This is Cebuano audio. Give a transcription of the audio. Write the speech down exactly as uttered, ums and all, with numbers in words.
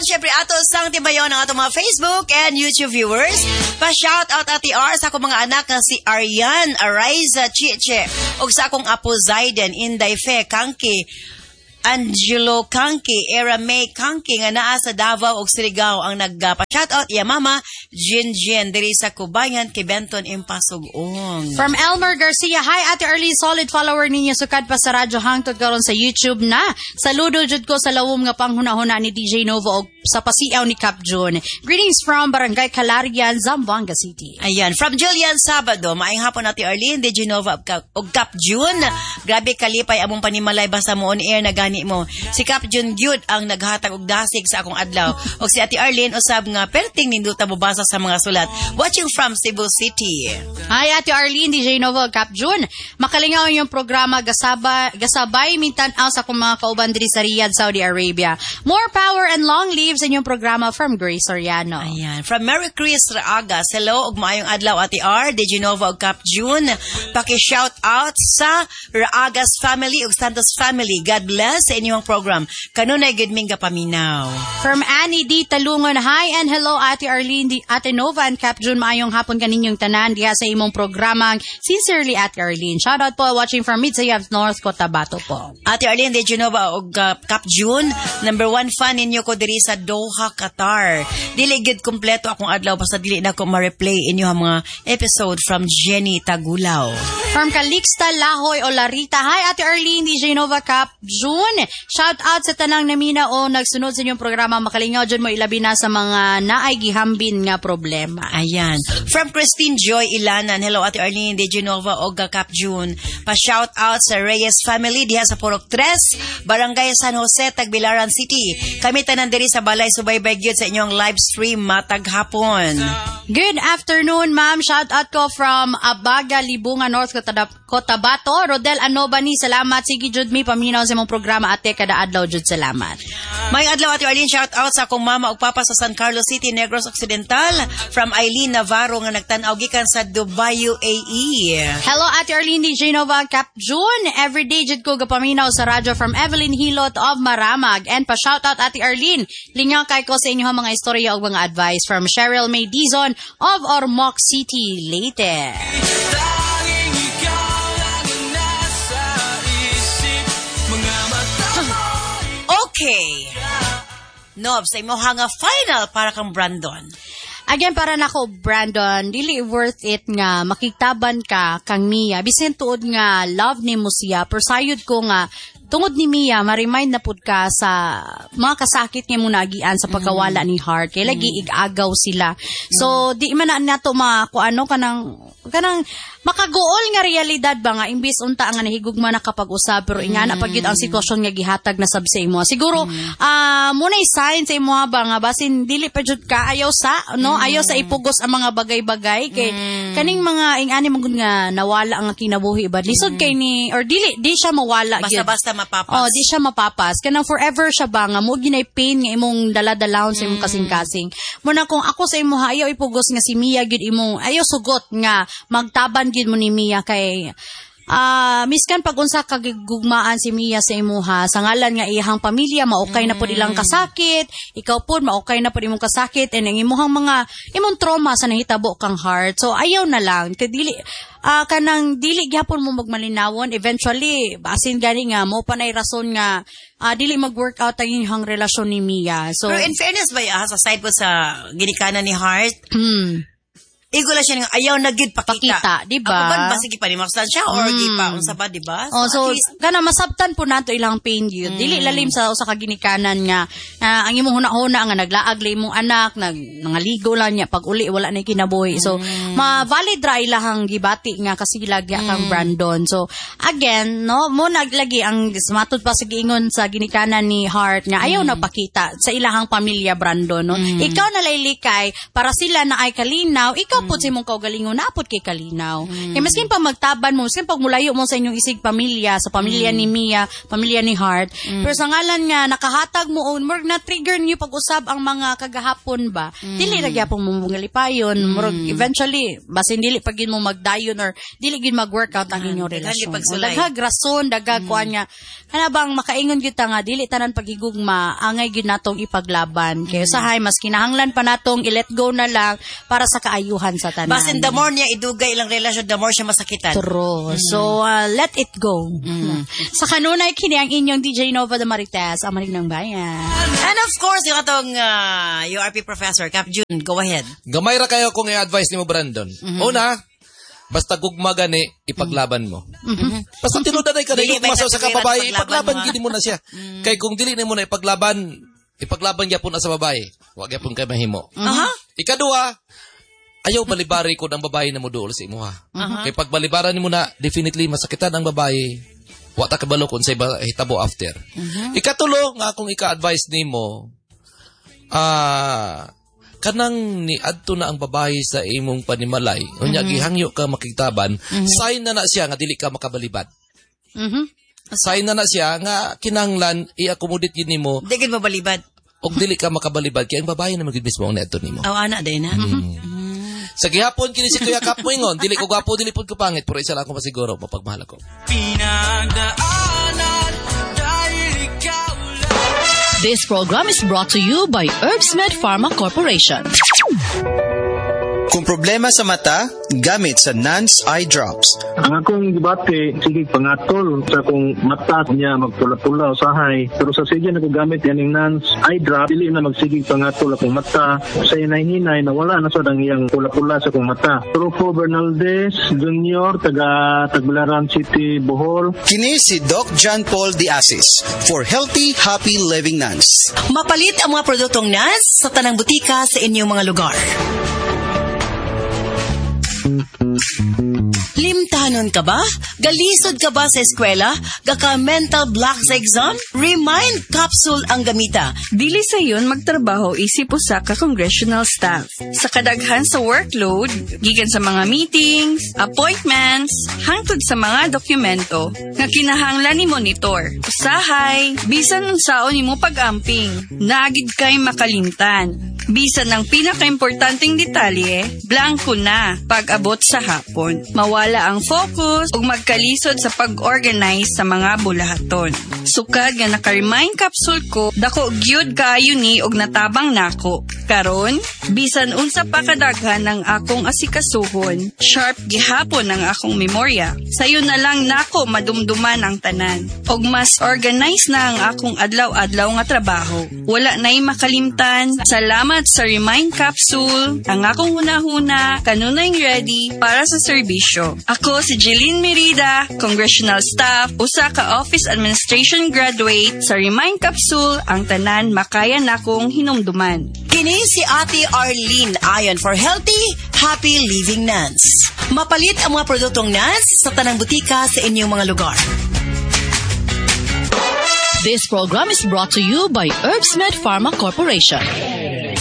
Apan syempre ato sang tibayon ang atong mga Facebook and YouTube viewers. Pa-shout out Ate R sa akong mga anak nga si Arian, Ariza, Chiche, ug sa akong apo Zayden, Inday Fe, Kangki, Angelo Kangki, Era May Kangki nga naa sa Davao ug Surigao ang nagpa-shout out iya mama Jin Jin diri sa Kubayan kay Benton Impasug-ong. From Elmer Garcia, hi Ate Arlene, solid follower ninyo sukad pa sa radyo hangtod karon sa YouTube na. Saludo jud ko sa lawom nga panghuna-huna ni DJ Nova og sa pasiaw ni Cap June. Greetings from Barangay Calarian, Zamboanga City. Ayan, from Julian Sabado, maayong hapon Ate Arlene, DJ Nova ug Cap- ug Cap June. Grabe kalipay among panimalay basta mo on air na gani mo. Si Cap June gyud ang naghatag og dasig sa akong adlaw. Og si Ate Arlene usab nga perting ninduta mobasa sa mga sulat. Watching from Cebu City. Hi Ate Arlene, DJ Nova, Cap June. Makalingaw yung programa gasaba, gasabay mintan-aw sa akong mga kauban diri sa Riyadh, Saudi Arabia. More power and long live sa inyong programa from Grace Soriano. Ayan. From Mary Chris Raagas, hello ug maayong adlaw Ate R, DJ Nova ug Cap June. Paki-shout out sa Raagas family ug Santos family. God bless sa inyong program. Kanunay gud ming gapaminaw. From Annie D. Talungon, hi and hello Ate Arlene, D, Ate Nova and Cap June. Maayong hapon kaninyong tanan diha sa imong programang Sincerely Ate Arlene. Shout out po watching from Midsayap North Cotabato po. Ate Arlene DJ Nova ug uh, Cap June, number one fan ninyo ko diri sa Doha, Qatar. Dili gid kumpleto akong adlaw basta dili na ko ma-replay inyo ang mga episode from Jenny Tagulaw. From Calixta Lahoy Olarita. Hi Ate Arlene, DJ Nova Cap June. Shout out sa tanang namina o nagsunod sa inyong programa Makalingaw dyan mo ilabi na sa mga naay gihambin nga problema. Ayan. From Christine Joy Ilanan. Hello, Ate Arlene DJ Nova og Cap June. Pa-shout out sa Reyes family diha sa Purok Tres, Barangay San Jose, Tagbilaran City. Kami tanan diri sa balay subaybay gyud sa inyong live stream matag hapon. Good afternoon, ma'am. Shout out ko from Abaga, Libungan, North Cotabato. Rodel Anobani, salamat. Sige, jud mi paminaw sa imong programa ate kada adlaw jud salamat. May adlaw Ate Arlene, shout out sa akong mama ug papa sa San Carlos City, Negros Occidental from Eileen Navarro nga nagtan-aw gikan sa Dubai, UAE. Hello Ate Arlene DJ Nova Cap June. Everyday jud ko gapaminaw sa radyo from Evelyn Hilot of Maramag. And pa shout out Ate Arlene. Lingaw kay ko sa inyong mga istorya ug mga advice from Cheryl May Dizon of Ormoc City, Leyte. Tanging ikaw lang ang nasa isip Mga mata Okay. Nob, sa imo nga final para kang Brandon. Again, para nako, Brandon, dili worth it nga makigtaban ka kang Mia. Bisin tuod nga love nimo siya, pero sayod ko nga tungod ni Mia, ma-remind na pud ka sa mga kasakit nga mo naagian sa pagkawala ni Heart. Kay lagi igagaw sila. So, di man na nato ma kung ano kanang kanang makaguol nga realidad ba nga imbis unta nga nahigugma na kapag usab pero ingana pag yun ang sitwasyon nga gihatag na sab sa imo. Siguro ah mo na sign sa imo ba nga basin dili pa jud ka ayaw sa no ayaw sa ipugos ang mga bagay-bagay kay kaning mga ingani man gud nga nawala ang kinabuhi ba lisod kay ni or dili di siya mawala gyud. Basta-basta mapapas. Oh, di siya mapapas. Kanang forever siya ba nga mo ginay pain nga imong dala-dalahon sa imong kasing-kasing. Muna kung ako sa imo ayaw ipugos nga si Mia gyud imong ayaw sugot nga magtaban gyud mo ni Mia kay Ah, miskan pag unsa kagugmaan si Mia sa imuha, sa ngalan nga iyang pamilya maukay na pud ilang kasakit, ikaw pud maukay na pud imong kasakit and ang imuhang mga imong trauma sa nahitabo kang heart. So ayaw na lang kay dili ah kanang dili gyapon mo magmalinawon eventually basin gani nga mo pa nay rason nga ah, dili mag-work out ang inyong relasyon ni Mia. So Pero in fairness ba, ah, sa side po sa ginikanan ni Heart, hmm, igo lang siya nga ayaw na gid pakita. Pakita, di ba? Ako ba basig ipanimaksan siya or mm. gipa unsa ba, di ba? Oh, so at least, kana masabtan po nato ilang pain yun. Dili lalim sa usa ka ginikanan nga ah, ang imong huna-huna nga naglaag la imong anak, nag nangaligo lang niya pag uli wala na kinabuhi. So ma valid ra ilahang gibati nga kasilag ya kang Brandon. So again, no, mo naglagi ang matud pa sa giingon sa ginikanan ni Hart nga ayaw na pakita sa ilahang pamilya Brandon, no. Ikaw na laylikay para sila na ay kalinaw, ikaw Ikaw pud sa imong kaugalingon naa pud kay kalinaw. Kay maskin pa magtaban mo, maskin pag mulayo mo sa inyong isig pamilya, sa pamilya ni Mia, pamilya ni Heart, pero sa ngalan nga nakahatag mo og murag na trigger niyo pag-usab ang mga kagahapon ba. Dili ra gyapon mo mangalipayon, murag eventually basin dili pag mo magdayon or dili gyud mag-workout ang inyong Daghan relasyon. gyud pagsulay. O, daghag rason, daghag kuan nga kana bang makaingon gyud ta nga dili tanan paghigugma angay gyud natong ipaglaban. Kay usahay mas kinahanglan pa natong i-let go na lang para sa kaayuhan sa tanan. Basin the more niya idugay ilang relasyon, the more siya masakitan. True. So, uh, let it go. Sa kanunay, kini ang inyong D J Nova the Marites, ang manig ng bayan. And of course, yung atong uh, U R P professor, Cap June, go ahead. Gamay ra kayo kung i-advise nimo, Brandon. Una, basta gugma gani, ipaglaban mo. Basta tinuod ka na Dili gugma ba sa usa ka katuwiran babae, ipaglaban ipaglaban mo, ah? gid mo na siya. Kay kung dili nimo na ipaglaban, ipaglaban gyapon na sa babae. Wa gyapon kay mahimo. Aha. Ikaduha, ayaw balibari kung ang babae na moduol sa imuha. Kay pag balibaran nimo na, definitely masakitan ang babae. Wa ta kabalo kung unsay ba hitabo after. Ikatulo nga akong ika-advise nimo, ah kanang niadto na ang babae sa imong panimalay, unya gihangyo ka makigtaban, sign na na siya nga dili ka makabalibad. Mhm. Sign na na siya nga kinahanglan i-accommodate gid nimo Di gid mabalibad. Og dili ka makabalibad kay ang babae na magid mismo ang niadto nimo. Aw, ana din na. Sa gihapon kini si Kuya Kap moingon, dili ko gwapo, dili pud ko pangit, pero isa lang ako masiguro, mapagmahal ako. Pinagdaanan dahil ikaw lang. This program is brought to you by Herbsmed Pharma Corporation. Kung problema sa mata, gamit sa Nance Eye Drops. Ang akong gibati, sige pangatol sa akong mata niya magpula-pula usahay. Pero sa sige na gamit yaning Nance Eye Drop, dili na magsigig pangatol akong mata. Sa hinay-hinay nawala na sad ang iyang pula-pula sa akong mata. Rufo Bernaldez Junior, taga Tagbilaran City, Bohol. Kini si Doc John Paul De Asis for healthy, happy living Nance. Mapalit ang mga produktong Nance sa tanang butika sa inyong mga lugar. Limtanon ka ba? Galisod ka ba sa eskwela? Gaka mental block sa exam? Remind Capsule ang gamita. Dili sayon magtrabaho isip usa ka congressional staff. Sa kadaghan sa workload, gikan sa mga meetings, appointments, hangtod sa mga dokumento nga kinahanglan ni monitor. Usahay, bisan unsaon nimo pag-amping, naa gid kay makalimtan. Bisan ang pinakaimportanteng detalye, blanko na pag-abot sa hapon. Mawala ang focus ug magkalisod sa pag-organize sa mga bulahaton. Sukad nga naka-Remind Capsule ko, dako gyud kaayo ni og natabang nako. Karon, bisan unsa pa kadaghan ang akong asikasuhon, sharp gihapon ang akong memorya. Sayo na lang nako madumduman ang tanan. Og mas organized na ang akong adlaw-adlaw nga trabaho. Wala na'y makalimtan. Salamat sa Remind Capsule. Ang akong hunahuna, kanunay ready para sa serbisyo. Ako si Jeline Merida, Congressional Staff, usa ka Office Administration graduate. Sa Remind Capsule, ang tanan makaya nakong hinumduman. Kini si Ate Arlene Ayon for healthy, happy living Nance. Mapalit ang mga produktong Nance sa tanang butika sa inyong mga lugar. This program is brought to you by Herbsmed Pharma Corporation.